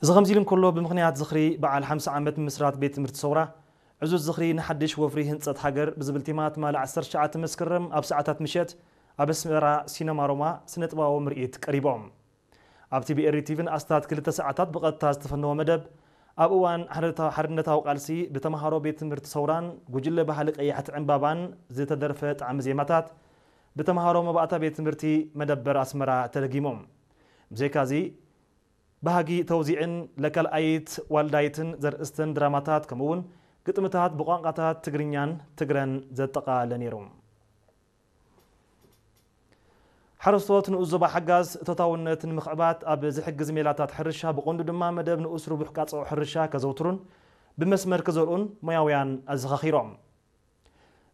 እዚ ከምዚ ኢሉ እንከሎ፣ ብምኽንያት ዝኽሪ በዓል ሓምሳ ዓመት ምስራት ቤት ትምህርቲ ሰውራ፣ ዕዙዝ ዝኽሪ ንሓድሽ ወፍሪ ህንጸት ሃገር ብዝብል ቴማ ትማሊ ዓሰርተ ትሽዓተ መስከረም ኣብ ሰዓታት ምሸት ኣብ ኣስመራ ሲነማ ሮማ ስነ-ጥበባዊ ምርኢት ቀሪቦም። ኣብ ቲቢኤሪ ቲቪን ኣስታት ክልተ ሰዓታት ብቐጥታ ዝተፈነወ መደብ፣ ኣብ እዋን ሓርነታ-፣ ሓርነታዊ ቃልሲ ብተምሃሮ ቤት ትምህርቲ ሰውራን ጉጅለ ባህሊ ቀያሕቲ ዕምባባን ዝተደርፈ ጣዕሚ ዜማታት ብተምሃሮ መባእታ ቤት ትምህርቲ መደበር ኣስመራ ተደጊሞም። ብዘይካዚ፣ ባህጊ ተውዚዕን ለካልኣይት ዋልዳይትን ዘርእስትን ድራማታት፣ ከምኡ'ውን ግጥምታት ብቋንቋታት ትግርኛን ትግረን ዘጠቓለለ ነይሩ። ሓረስቶት ንኡስ ዞባ ሓጋዝ እቶታውነት ንምኽዕባት ኣብ ዝሕግዝ ሜላታት ሕርሻ፣ ብቐንዱ ድማ መደብ ንኡስ ርቡሕ ቃጽዖ ሕርሻ ከዘውትሩን ብመስመር ክዘርኡን ሞያውያን ኣዘኻኺሮም።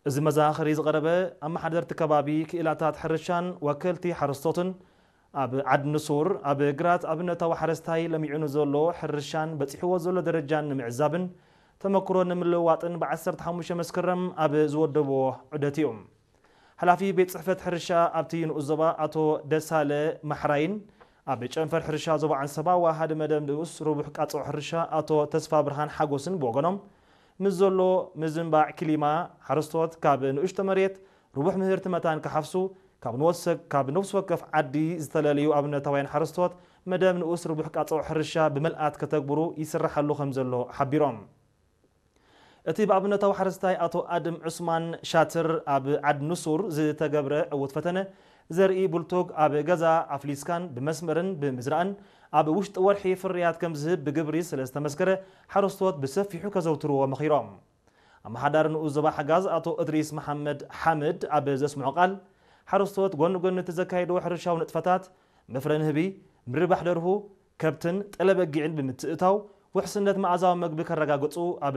እዚ መዘኻኸሪ ዝቐረበ፣ ኣመሓደርቲ ከባቢ፣ ክኢላታት ሕርሻን ወከልቲ ሓረስቶትን ኣብ ዓድ ንሱር ኣብ ግራት ኣብነታዊ ሓረስታይ ለሚዑ ንዘሎ ሕርሻን በጺሕዎ ዘሎ ደረጃን ንምዕዛብን ተመክሮ ንምልውዋጥን ብ ዓሰርተ ሓሙሽተ መስከረም ኣብ ዝወደብዎ ዑደት እዩ። ሓላፊ ቤት ጽሕፈት ሕርሻ ኣብቲ ንኡስ ዞባ ኣቶ ደሳለ ማሕራይን ኣብ ጨንፈር ሕርሻ ዞባ ዓንሰባ ወሃዲ መደብ ንኡስ ርቡሕ ቃጽዖ ሕርሻ ኣቶ ተስፋ ብርሃን ሓጎስን ብወገኖም፣ ምስ ዘሎ ምዝንባዕ ክሊማ፣ ሓረስቶት ካብ ንእሽቶ መሬት ርቡሕ ምህርቲ መታን ክሓፍሱ፣ ካብ ንወሰ-፣ ካብ ነፍሲ ወከፍ ዓዲ ዝተለለዩ ኣብነታውያን ሓረስቶት መደብ ንኡስ ርቡሕ ቃጽዖ ሕርሻ ብመልኣት ከተግብሩ ይስራሓሉ ከም ዘሎ ሓቢሮም። እቲ ብኣብነታዊ ሓረስታይ ኣቶ ኣድም ዑስማን ሻትር ኣብ ዓድ ንሱር ዝተገብረ ዕዉት ፈተነ ዘርኢ ቡልቶግ ኣብ ገዛ ኣፍሊስካን ብመስመርን ብምዝራእን ኣብ ውሽጢ ወርሒ ፍርያት ከም ዝህብ ብግብሪ ስለ ዝተመስከረ፣ ሓረስቶት ብሰፊሑ ከዘውትርዎ መኺሮም። ኣመሓዳሪ ንኡስ ዞባ ሓጋዝ ኣቶ እድሪስ መሓመድ ሓምድ ኣብ ዘስምዖ ቃል፣ ሓረስቶት ጎኒ ጎኒ እቲ ዘካየድዎ ሕርሻዊ ንጥፈታት፣ መፍረ ንህቢ፣ ምርባሕ ደርሁ፣ ከብትን ጠለ በጊዕን ብምትእታው፣ ውሕስነት መኣዛዊ መግቢ ከረጋግጹ ኣብ